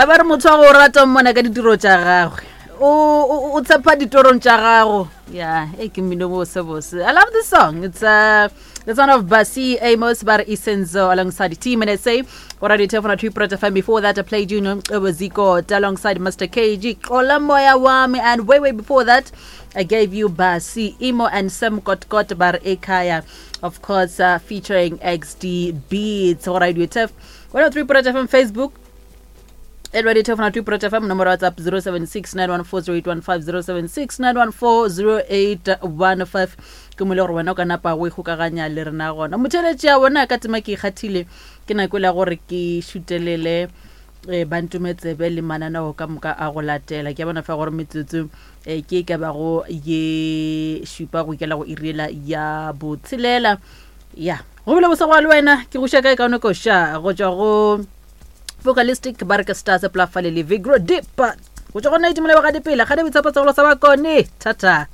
A ba re motho wa go rata o mmona ka ditiro tša gagwe. O o o tshepa ditorong tša gago. Yeah, e ke mmino bose bose. I love this song. It's uh the son of Basi Amos Bar Isenzo alongside Team NSA. Already Telefona 2 Project FM. Before that, I played you Ziko alongside Mr. KG. Xola Moya Wami. And way, way before that, I gave you Basi Imo and Sam Kotkot Bar Ekaya. Of course, uh, featuring XD Beats. Alright, Tef. 103 Project FM Facebook. At Radio Telefona 2 Project FM, nomoro ya WhatsApp 076 914 0815 076 914 ke mo le gore wena o ka napa o ikgokaganya le rena gona motheletši ya bona ka tema ke ikgathile ke nako e la gore ke šutelele um bantumetsebe le mananeo ka moka a go latela ke a bona fa gore metsotso um ke e ka bago ye šupa go ikela go iriela ya botshelela ya go bile bosegwa le wena ke go šeka e kaone koša go tšwa go vocalistic ba re ke stars plafale le vigro depa go tšwa go nna itumele ba ga dipela ga di boitshepo segolo sa bakone thata.